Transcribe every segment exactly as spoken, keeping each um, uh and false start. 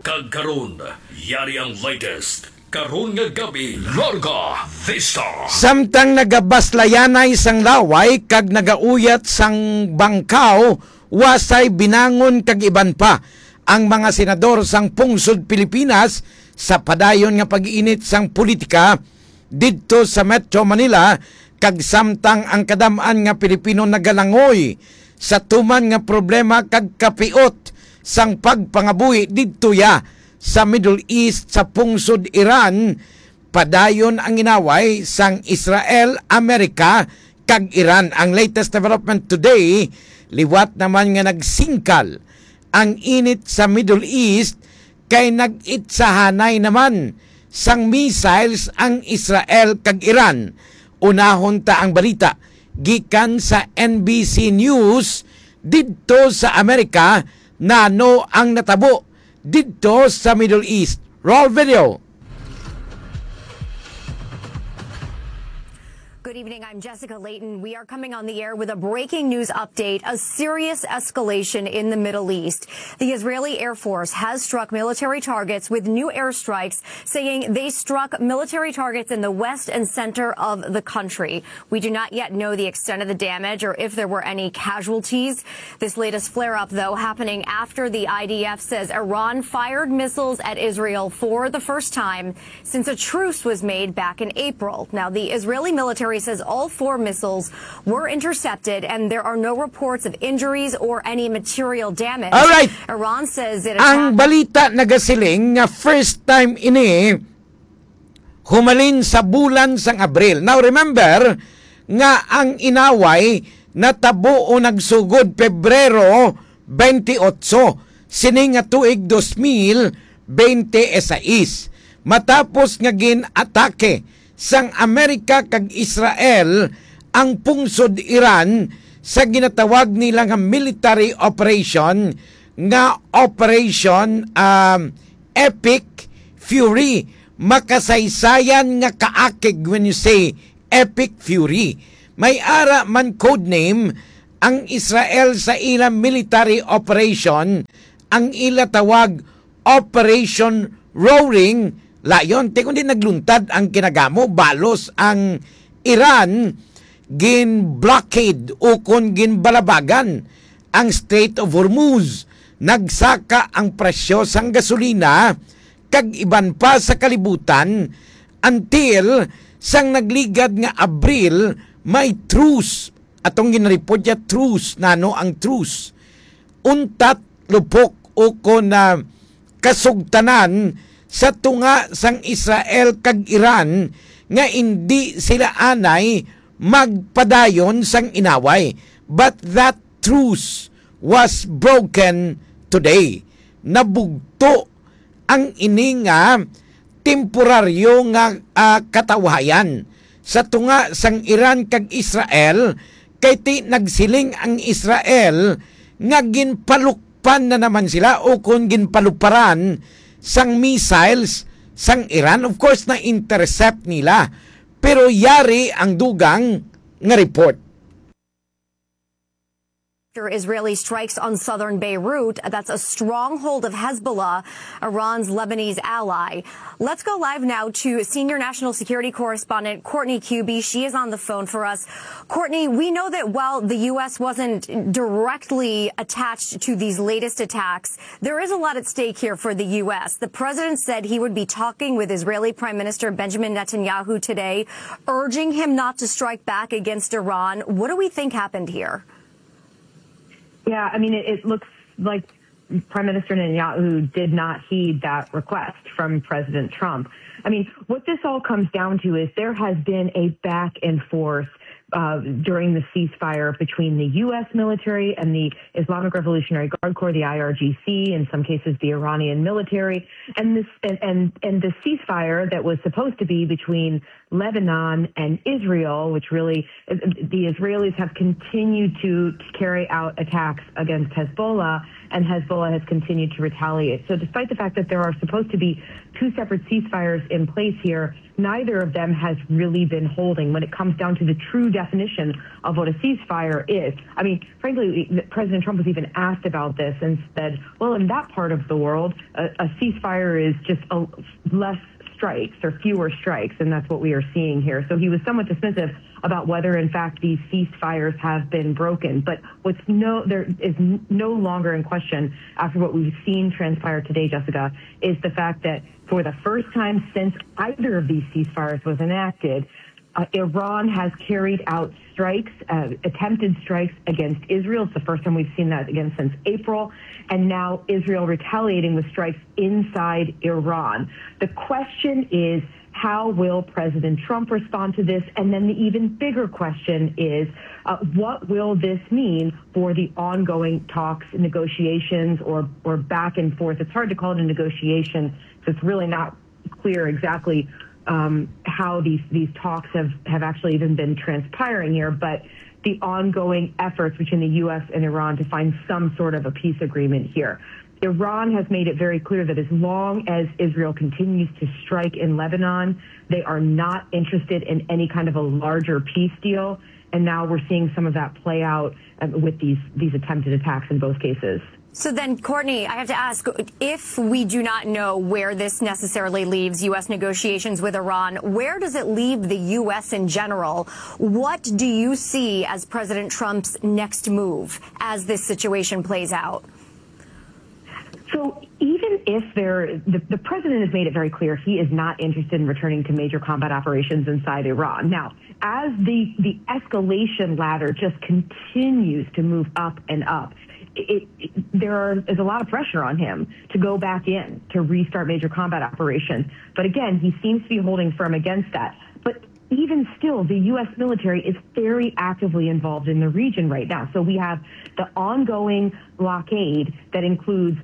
Kag karon, yari ang latest. Karon nga gabi, Larga Vista. Samtang nagabaslayanay sang laway kag nagauyat sang bangkaw, wasay binangon kag iban pa ang mga senador sang pungsod Pilipinas sa padayon nga pag-init sang politika didto sa Metro Manila, kag samtang ang kadam-an nga Pilipino nagalangoy sa tuman nga problema kag kapiot sang pagpangabuhi didto ya sa Middle East, sa pungsod Iran, padayon ang inaway sang Israel, Amerika, kag Iran. Ang latest development today, liwat naman nga nagsingkal ang init sa Middle East, kay nag-itsahanay naman sang missiles ang Israel kag Iran. Unahon ta ang balita gikan sa N B C News didto sa Amerika, nano ang natabo didto sa Middle East. Roll video. Good evening. I'm Jessica Layton. We are coming on the air with a breaking news update, a serious escalation in the Middle East. The Israeli Air Force has struck military targets with new airstrikes, saying they struck military targets in the west and center of the country. We do not yet know the extent of the damage or if there were any casualties. This latest flare up, though, happening after the I D F says Iran fired missiles at Israel for the first time since a truce was made back in April. Now, the Israeli military says all four missiles were intercepted and there are no reports of injuries or any material damage. All right. Iran says it Ang attacked balita nagasiling nga first time ini humalin sa bulan sang Abril. Now, remember nga ang inaway natabo o nagsugod Pebrero twenty-eight, sini nga tuig dos mil bente y seis, matapos nga gin-atake sang Amerika kag Israel ang pungsod Iran sa ginatawag nila nga military operation nga Operation, um, Epic Fury. Makasaysayan nga kaakig when you say Epic Fury. May ara man codename ang Israel sa ila military operation, ang ila tawag Operation Roaring Lion. Ti kundi nagluntad ang kinagamo, balos ang Iran, gin-blockade ukon ginbalabagan ang Strait of Hormuz. Nagsaka ang presyo sang gasolina kag iban pa sa kalibutan until sang nagligad nga Abril may truce. Atong ginreport ya truce. Nano ang truce? Untat, lupok, ukon na kasugtanan sa tunga sang Israel kag Iran nga indi sila anay magpadayon sang inaway. But that truce was broken today. Nabugto ang ini nga temporaryo nga, ah, katawhayan sa tunga sang Iran kag Israel, kay ti nagsiling ang Israel nga ginpalukpan na naman sila o kon ginpaluparan sang missiles sang Iran. Of course, na-intercept nila, pero yari ang dugang nga report. After Israeli strikes on southern Beirut, that's a stronghold of Hezbollah, Iran's Lebanese ally. Let's go live now to senior national security correspondent Courtney Kube. She is on the phone for us. Courtney, we know that while the U S wasn't directly attached to these latest attacks, there is a lot at stake here for the U S. The president said he would be talking with Israeli Prime Minister Benjamin Netanyahu today, urging him not to strike back against Iran. What do we think happened here? Yeah, I mean, it, it looks like Prime Minister Netanyahu did not heed that request from President Trump. I mean, what this all comes down to is there has been a back and forth uh, during the ceasefire between the U S military and the Islamic Revolutionary Guard Corps, the I R G C, in some cases the Iranian military, and this and and, and the ceasefire that was supposed to be between Lebanon and Israel, which really, the Israelis have continued to, to carry out attacks against Hezbollah, and Hezbollah has continued to retaliate. So, despite the fact that there are supposed to be two separate ceasefires in place here, neither of them has really been holding when it comes down to the true definition of what a ceasefire is. I mean, frankly, President Trump was even asked about this and said, well, in that part of the world, a, a ceasefire is just a, less strikes or fewer strikes, and that's what we are seeing here. So he was somewhat dismissive about whether, in fact, these ceasefires have been broken. But what's no, there is n- no longer in question after what we've seen transpire today, Jessica, is the fact that for the first time since either of these ceasefires was enacted, uh, Iran has carried out strikes, uh, attempted strikes against Israel. It's the first time we've seen that again since April. And now Israel retaliating with strikes inside Iran. The question is, how will President Trump respond to this? And then the even bigger question is, uh, what will this mean for the ongoing talks, negotiations, or, or back and forth? It's hard to call it a negotiation, so it's really not clear exactly um, how these, these talks have, have actually even been transpiring here, but the ongoing efforts between the U S and Iran to find some sort of a peace agreement here. Iran has made it very clear that as long as Israel continues to strike in Lebanon, they are not interested in any kind of a larger peace deal. And now we're seeing some of that play out uh, with these, these attempted attacks in both cases. So then, Courtney, I have to ask, if we do not know where this necessarily leaves U S negotiations with Iran, where does it leave the U S in general? What do you see as President Trump's next move as this situation plays out? So even if there, the, the president has made it very clear he is not interested in returning to major combat operations inside Iran. Now, as the, the escalation ladder just continues to move up and up, it, it, there are, is a lot of pressure on him to go back in to restart major combat operations. But again, he seems to be holding firm against that. But even still, the U S military is very actively involved in the region right now. So we have the ongoing blockade that includes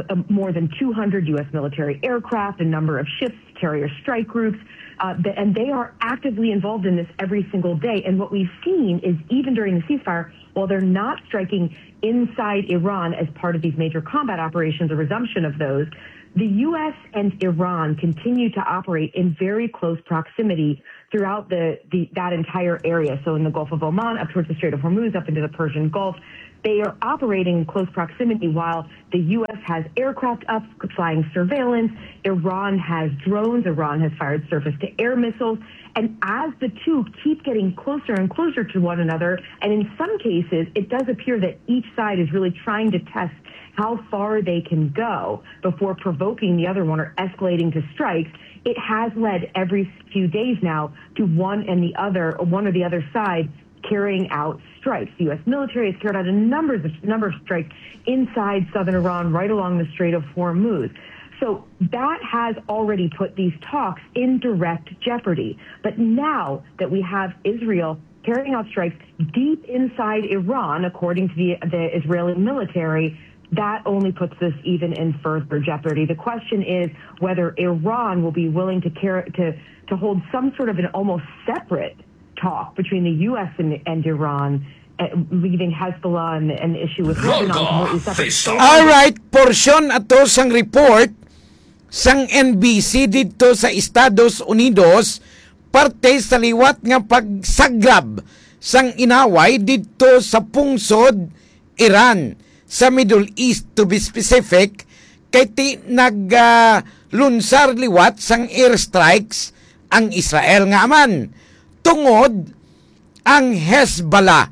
uh, more than two hundred U S military aircraft, a number of ships, carrier strike groups, uh, th- and they are actively involved in this every single day. And what we've seen is, even during the ceasefire, while they're not striking inside Iran as part of these major combat operations, the resumption of those, the U S and Iran continue to operate in very close proximity throughout the, the that entire area. So in the Gulf of Oman, up towards the Strait of Hormuz, up into the Persian Gulf, they are operating in close proximity while the U S has aircraft up flying surveillance. Iran has drones. Iran has fired surface to air missiles. And as the two keep getting closer and closer to one another, and in some cases, it does appear that each side is really trying to test how far they can go before provoking the other one or escalating to strikes. It has led every few days now to one and the other, one or the other side carrying out strikes. The U S military has carried out a number of, number of strikes inside southern Iran, right along the Strait of Hormuz. So that has already put these talks in direct jeopardy. But now that we have Israel carrying out strikes deep inside Iran, according to the, the Israeli military, that only puts this even in further jeopardy. The question is whether Iran will be willing to care to to hold some sort of an almost separate talk between the U S and, and Iran, uh, leaving Hezbollah and an issue with Lebanon completely separate. All right, portion ato sang report sang N B C didto sa Estados Unidos, parte sa liwat nga pagsagrab sang inaway didto sa pungsod Iran, sa Middle East, to be specific, kay ti nag, ah, lunsar liwat sang airstrikes ang Israel nga aman tungod ang Hezbollah.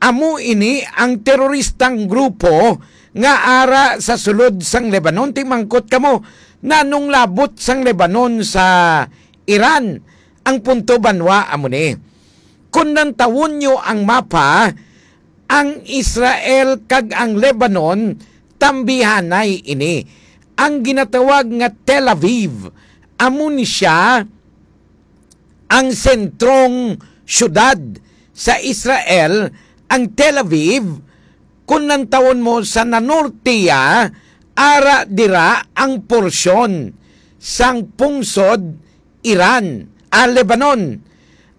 Amo ini ang teroristang grupo nga ara sa sulod sang Lebanon. Ti mangkot kamo, nanong labot sang Lebanon sa Iran? Ang punto, banwa, amo ni. Kung nantawon nyo ang mapa, ang Israel kag ang Lebanon, tambihanay ini. Ang ginatawag nga Tel Aviv, amo ni siya ang sentrong syudad sa Israel. Ang Tel Aviv, kung nantawon mo sa nanorte ya, ara dira ang porsyon sang pungsod Iran, ah, Lebanon.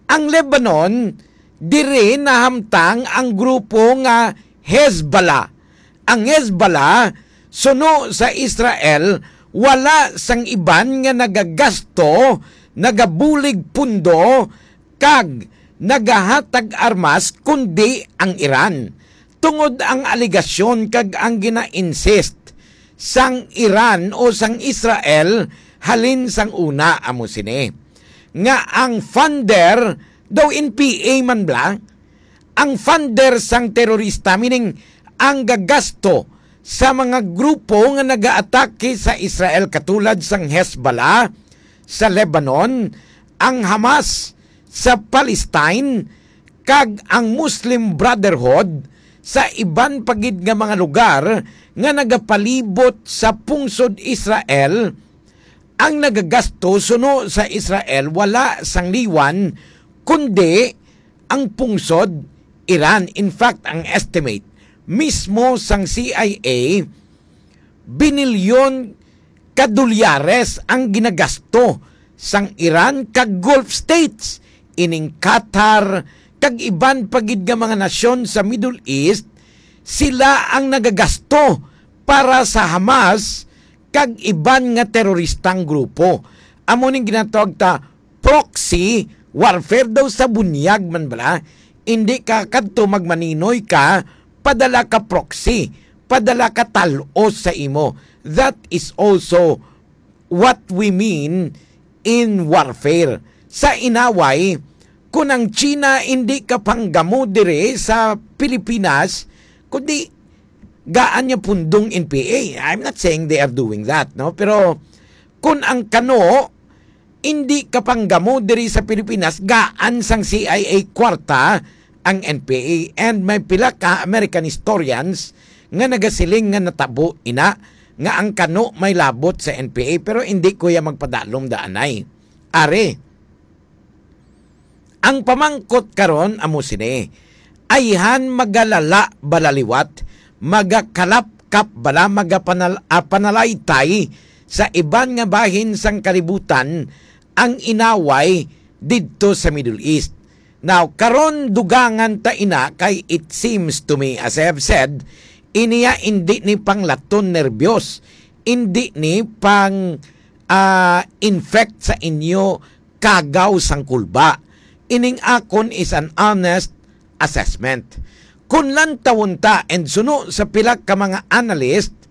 Ang Lebanon, diri nahamtang ang grupo nga Hezbollah. Ang Hezbollah, suno sa Israel, wala sang iban nga nagagasto, nagabulig pundo, kag nagahatag armas, kundi ang Iran, tungod ang alegasyon kag ang gina-insist sang Iran o sang Israel halin sang una, amo sini nga ang funder daw N P A man bala, ang funder sang terorista, meaning ang gagasto sa mga grupo nga nagaatake sa Israel, katulad sang Hezbollah sa Lebanon, ang Hamas sa Palestine, kag ang Muslim Brotherhood sa iban pa gid nga mga lugar nga nagapalibot sa pungsod Israel. Ang nagagasto suno sa Israel wala sang liwan kundi ang pungsod Iran. In fact, ang estimate mismo sang C I A, binilyon ka dolyares ang ginagasto sang Iran kag Gulf states, ining Qatar kag iban pa gid nga mga nasyon sa Middle East. Sila ang nagagasto para sa Hamas kag iban nga teroristang grupo. Amo ning ginatawag ta proxy warfare daw sa bunyag man bala. Hindi ka kadto magmaninoy ka, padala ka proxy, padala ka tal-os sa imo. That is also what we mean in warfare. Sa inaway, kung ang China hindi ka panggamo diri sa Pilipinas, kundi gaan niya pundong N P A. I'm not saying they are doing that, no? Pero kung ang kano hindi ka panggamo diri sa Pilipinas, gaan sang C I A kwarta ang N P A. And may pila ka American historians nga nagasiling nga natabo ina nga ang kano may labot sa N P A, pero hindi ko ya magpadalom daanay. Are, ang pamangkot karon amo sini, ayhan magalala bala liwat, magakalapkap bala, magapanal-, ah, panalaytay sa iban nga bahin sang kalibutan ang inaway didto sa Middle East. Now, karon dugangan ta ina kay it seems to me, as I have said, iniya indi ni panglaton nerbyos, indi ni pang, ah, infect sa inyo kagaw sang kulba. Ining akon is an honest assessment. Kun lantawon ta and suno sa pila ka mga analyst,